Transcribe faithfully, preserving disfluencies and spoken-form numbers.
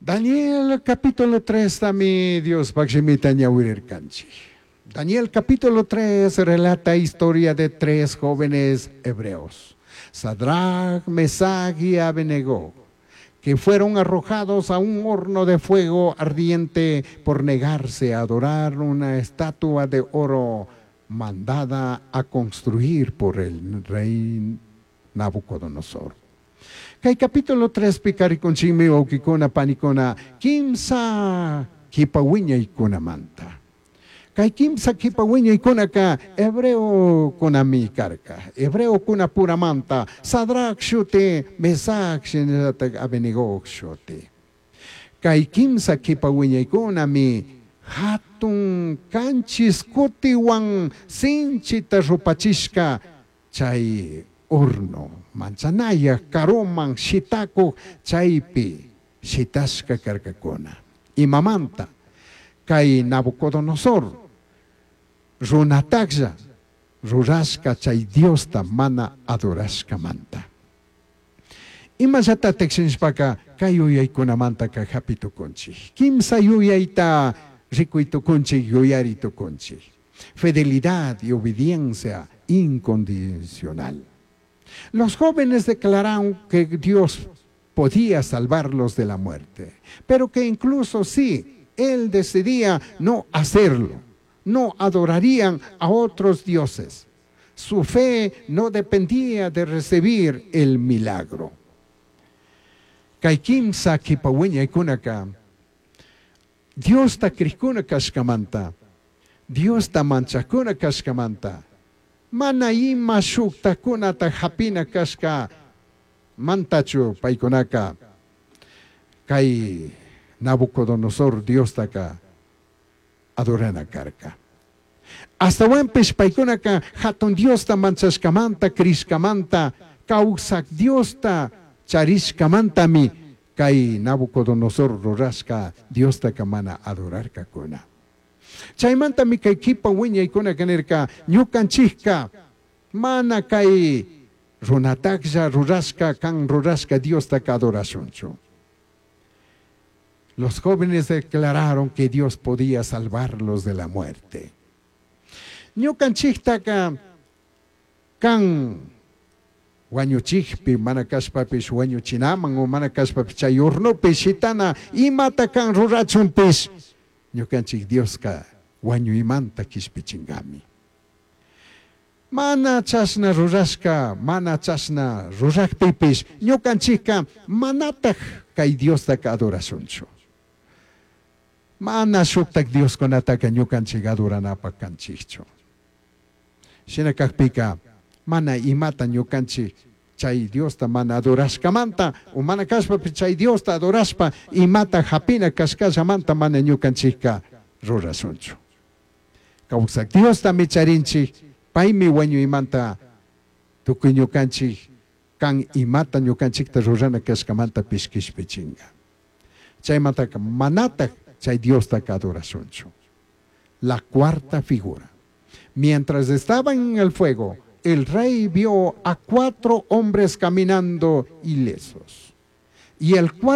Daniel capítulo tres tami Diospaj shimita ñawirirkanchik. Daniel capítulo tres relata historia de tres jóvenes hebreos, Sadrach, Mesach y Abednego, que fueron arrojados a un horno de fuego ardiente por negarse a adorar una estatua de oro mandada a construir por el rey Nabucodonosor. Kay capítulo tres pika rikunchikmi wawkikuna panikuna kimsa kipa wiñaykunamanta. Kay kimsa kipa wiñaykunaka hebreokunami karka. Hebreokuna puramanta Sadrach shuti, Mesach shinallatak Abednego shuti. Kay kimsa kipa wiñaykunami hatun kanchis kutiwan sinchita rupachishka chay horno manchanayaj karuman shitakuj chaypi shitashka karkakuna. Imamanta kay Nabucodonosor runataklla rurashka chay Diosta mana adorashkamanta. Imallatatak shinashpaka kay yuyaykunamantaka hapi tukunchik. Kimsa yuyayta rikuy tukunchik, yuyari tukunchik. Fidelidad y obediencia incondicional. Los jóvenes declararon que Dios podía salvarlos de la muerte, pero que incluso si Él decidía no hacerlo, no adorarían a otros dioses. Su fe no dependía de recibir el milagro. Kay kimsa kipa wiñaykunaka Diosta krikuna kashkamanta, Diosta manchakuna kashkamanta, mana ima shuktakunata hapina kashka mantachu paykunaka kay Nabucodonosor Diostaka adorana karka. Astawanpish paykunaka hatun Diosta manchashkamanta, krishkamanta, kawsak Diosta charishkamantami kay Nabucodonosor rurashka Diostaka mana adorarkakuna. Chaymantami kay kipa wiñaykunaka nirka ñukanchikka mana kay runataklla rurashka kan rurashka Diostaka adorashunchu. Los jóvenes declararon que Dios podía salvarlos de la muerte. Ñukanchiktaka kan wañuchikpi mana kashpapish wañuchinaman o mana kashpapish chay hornopi shitana imata kan rurachunpish ñukanchik Dioska wañuymanta kishpichinkami. Mana chashna rurashka, mana chashna rurakpipish ñukanchikka manataj kay Diostaka adorashunchu. Mana shuktak Dioskunataka ñukanchik adoranapak kanchikchu. Shina kakpika mana imata ñukanchik chay Diosta mana adorashkamanta o mana kashpapish chay Diosta adorashpa imata hapina kashkallamanta mana ñukanchikka rurashunchu. Kawsak Diosta charinchik, paymi wañuymanta tukuy ñukanchik kan imata ñukanchikta rurana kashkamanta kishpichinga. Chaymantaka manataj chay Diostaka adorashunchu. La cuarta figura. Mientras estaban en el fuego, el rey vio a cuatro hombres caminando ilesos. Y el cuarto